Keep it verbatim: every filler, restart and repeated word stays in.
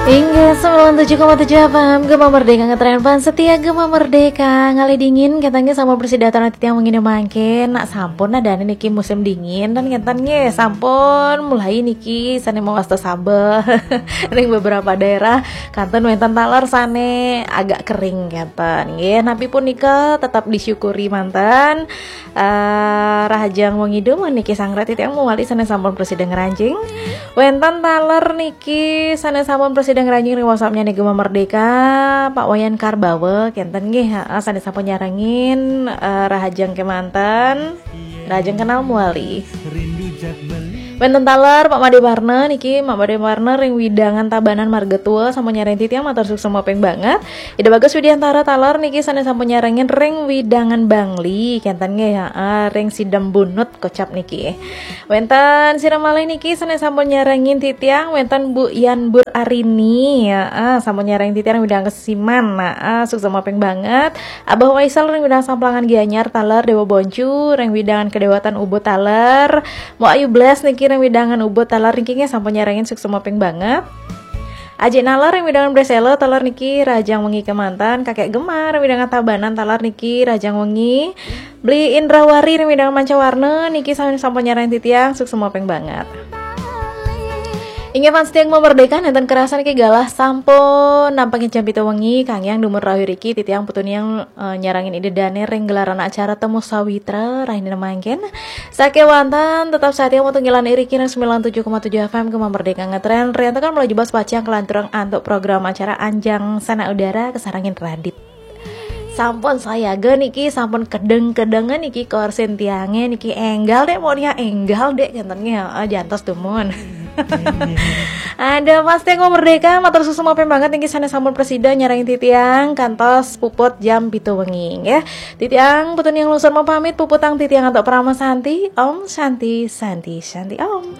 Inggih, sembilan tujuh koma tujuh F M, Gema Merdeka ngetren pan setia Gema Merdeka. Ngalih dingin, katanya sama bersidatan nanti tiang mengini mangkin. Nak sampun ada niki musim dingin dan ngeten nggih, sampun mulai niki sane mawasta sabeh. Ning beberapa daerah kanten wenten taler sane agak kering ngeten nggih. Napi punika tetap disyukuri manten. Eh, rahajeng wengi dumun niki sanggra titiang mawali sane sampun prasida ngranjing. Wenten taler niki sane sampun prasida ngranjing ring WhatsApp-nya niki Gema Merdeka, Pak Wayan Karbawa, kenten nggih, heeh, sane sampun nyarengin, eh, rahajeng kemanten. Rahajeng kenal mawali. Wenten taler Pak Made Warna niki, Pak Made Warna ring wewidangan Tabanan Marga Tua sampun nyarengin titiang matur suksma ping banget. Ida Bagus Widiantara taler niki sane sampun nyarengin ring wewidangan Bangli, kenten nggih, heeh, ring Sidembunut kocap niki. Wenten sira malih niki sane sampun nyarengin titiang, wenten Bu Yan Bur Arini, heeh, sampun nyarengin titiang ring wewidangan Kesiman, heeh, suksma ping banget. Abah Waisal ring wewidangan Samplangan Gianyar taler, Dewa Boncu ring wewidangan Kedewatan Ubud taler, Mbok Ayu Bles niki ring wewidangan Ubud taler niki nggih sampun nyarengin suksma ping banget. Ajik Nalar ring wewidangan Bresela taler niki rahajeng wengi kemanten, Kakek Gemar ring wewidangan Tabanan taler niki rahajeng wengi. Beli Indrawari ring wewidangan Mancawarna niki sami sampun nyarengin titiang suksma ping banget. Inggih fans tiang Gema Merdeka, nenten kerasa niki galah sampun nampengin jam pitu wengi, kanggiang dumun rauh iriki titiang Putu Niang, eh, nyarengin ida dane ring gelaran acara Temu Sawitra rahina mangkin. Sakewanten tetap setia wonten ngilan iriki ring sembilan tujuh koma tujuh F M Gema Merdeka ngetren, riantukan melaju bas pacang kelanturang antuk program acara Anjang Sanak Udara kasarengin Radit. Sampun sayaga niki, sampun kedeng-kedengan niki korsin tiange niki enggal dek, mau dia enggal dek, kenten nggih, heeh, jantos dumun. Ada Mas Tenggo Merdeka, matur suksma ping banget niki sane sampun prasida nyarengin titiang kantos puput jam pitu wengi nggih. Titiang Putu Niang Lungsur mau pamit, puputang titiang antuk Parama Santi. Om Santi, Santi, Santi Om.